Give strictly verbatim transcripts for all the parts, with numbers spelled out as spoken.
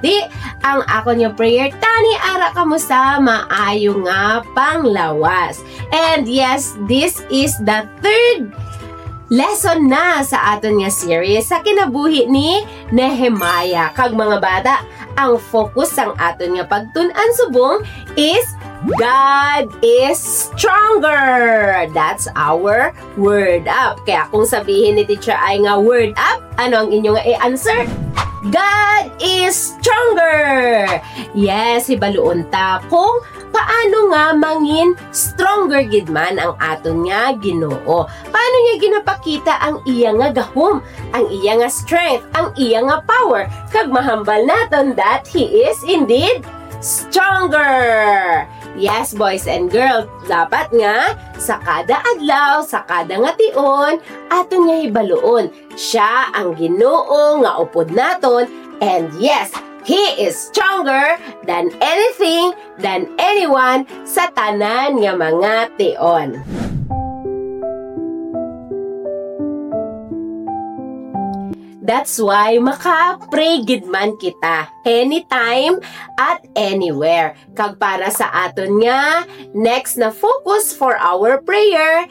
pagpati ang akon nga prayer. Tani ara kamo sa maayo nga panglawas. And yes, this is the third lesson na sa aton nga series sa kinabuhi ni Nehemiah. Kag mga bata, ang focus sang aton nga pagtun-an subong is God is stronger. That's our word up. Kaya kung sabihin ni Teacher Ai nga word up, ano ang inyo nga i-answer? God is stronger. Yes, hibaluon ta kung paano nga mangin stronger gid man ang aton nga Ginoo. Paano niya ginapakita ang iya nga gahom, ang iya nga strength, ang iya nga power? Kag mahambal naton that He is indeed stronger. Yes, boys and girls, dapat nga sa kada adlaw, sa kada nga tion, aton nga hibaluon, siya ang Ginoo nga upod naton, and yes, He is stronger than anything, than anyone, sa tanan nga mga tion. That's why maka-pray gid man kita anytime at anywhere. Kag para sa aton nga next na focus for our prayer,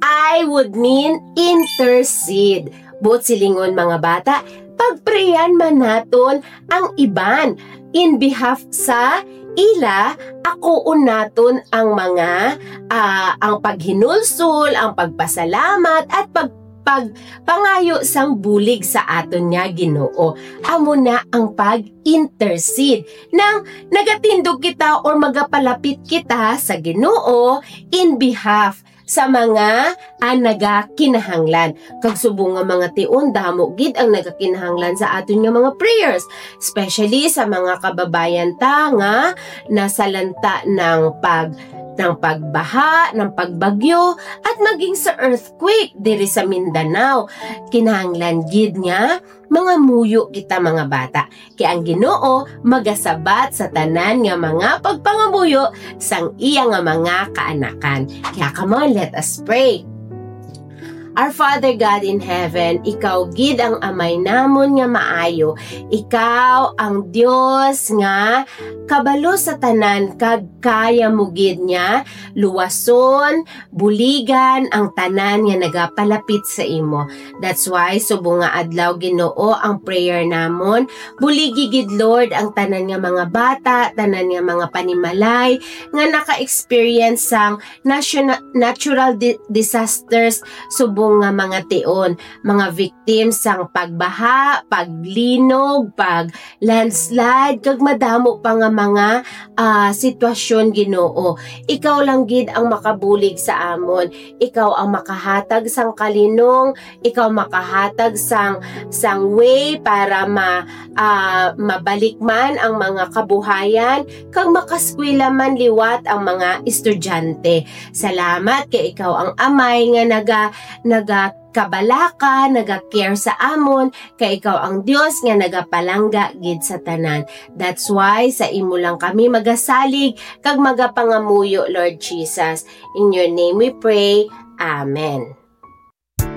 I would mean intercede. Buot silingon, mga bata, pagprayan man naton ang iban in behalf sa ila, akuon naton ang mga, ah, ang paghinulsol, ang pagpasalamat, at pag-, pagpangayo sang bulig sa aton nga Ginoo. Amo na ang pag-intercede. Nang nagatindog kita or magapalapit kita sa Ginoo in behalf sa mga, ah, nagakinahanglan. Kag subong nga mga tion, damo gid ang nagakinahanglan sa aton nga mga prayers, especially sa mga kababayan ta nga nasalanta ng pag-, ng pagbaha, ng pagbagyo, at maging sa earthquake diri sa Mindanao. Kinahanglan gid nga mangamuyo kita, mga bata, kay ang Ginoo magasabat sa tanan nga mga pagpangamuyo sang iya nga mga kaanakan. Kaya, come on, let us pray. Our Father God in heaven, ikaw gid ang Amay namon nga maayo. Ikaw ang Dios nga kabalo sa tanan, kag kaya mo gid nga luwason, buligan ang tanan nga nagapalapit sa imo. That's why, subong nga adlaw, Ginoo, ang prayer namon, buligi gid, Lord, ang tanan nga mga bata, tanan nga mga panimalay nga naka-experience sang nationa-, natural di-, disasters, subong nga mga tion, mga victims sang pagbaha, paglinog, pag landslide, kag madamo pa nga mga, ah, sitwasyon, Ginoo. Ikaw lang gid ang makabulig sa amon. Ikaw ang makahatag sang kalinong, ikaw makahatag sang, sang way para ma-, ah, mabalik man ang mga kabuhayan, kag makaskwela man liwat ang mga estudyante. Salamat kay ikaw ang Amay nga naga-, naga-, kabalaka, naga-care sa amon, kay ikaw ang Dios nga nagapalangga gid sa tanan. That's why sa imo lang kami magasalig kag magapangamuyo, Lord Jesus. In your name we pray. Amen.